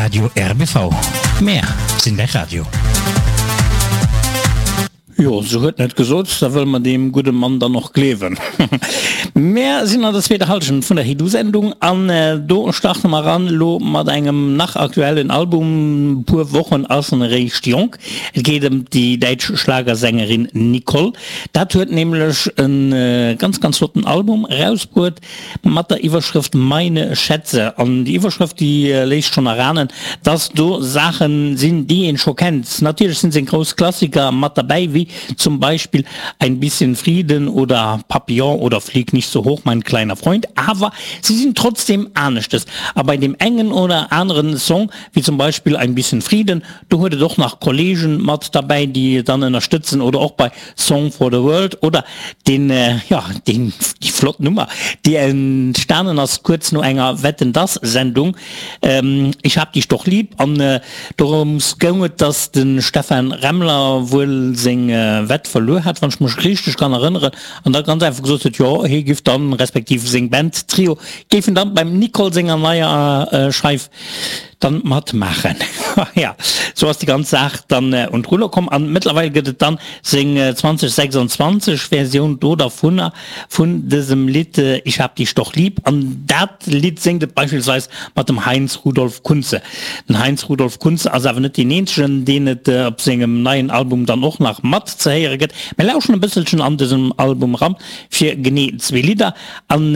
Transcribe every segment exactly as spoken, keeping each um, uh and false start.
Radio RBV. Mär sinn däi Radio. Jo, sou huet en et gesot, da wëlle mer deem gudde Mann dann och gleewen. Mär sinn an der zweeter Hallschent vun der Hiddu-Sendung an do starte mer eran elo mat engem nach aktuellen Album, puer Wochen ass en eréischt jonk. Et geet ëm déi däitsch Schlagersängerin Nicole. Dat huet nämlech e ganz, ganz flotten Album erausbruet. Mat der Iwwerschrëft Meine Schätze. An déi Iwwerschrëft, déi léisst schonn erahnen, dass do Saachen sinn, déi een scho kennt. Natierlech sinn seng grouss Klassiker mat derbäi, wéi zum Beispill Ein bisschen Frieden oder Papillon oder Flieg nicht so hoch, mein kleiner Freund. Awer si sinn trotzdem aneschtes. A bei deem engen oder aneren Song, wéi zum Beispill Ein bisschen Frieden, do huet et och nach Kollegen mat derbäi, déi dann ënnerstëtzen oder och bei Song for the World oder deen, jo, deen, déi flott Nummer, déi entstanen ass kuerz no enger Wetten, dass Sendung, Ich hab dich doch lieb, an dorëms goung et, dass de Stephan Remmler wuel seng Wett verluer hat, wann ech mech richteg kann erënneren, an da ganz einfach gesot huet, jo, hie giff dann, respektiv seng Band Trio géifen dann beim Nicole senger neier Scheif dann matmaachen. Ja, sou ass déi ganz Saach dann un d'Rulle komm an mëttlerweil gëtt et dann seng zwanzeg sechsundzwanzeg Versioun do dervunner vun dësem Lidd Ich hab dich doch lieb an dat Lidd séngt et beispillsweis mat dem Heinz Rudolf Kunze. Den Heinz Rudolf Kunze ass awer net deen eenzegen, deen et op sengem neien Album dann och nach mat ze héiere gëtt. Mir lauschen e bësselchen an dësem Album eran fir genee zwee Lidder an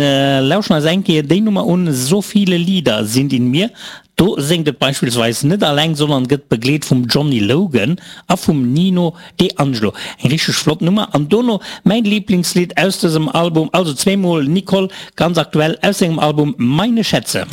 lauschen eis eng Kéier déi Nummer un So viele Lieder sind in mir. Do séngt et beispillsweis net alleng, sondern gëtt begleet vum Johnny Logan a vum Nino De Angelo. Eng richteg flott Nummer. An dono mäin Lieblingslidd aus dësem Album, also zweemol Nicole, ganz aktuell aus sengem Album Meine Schätze.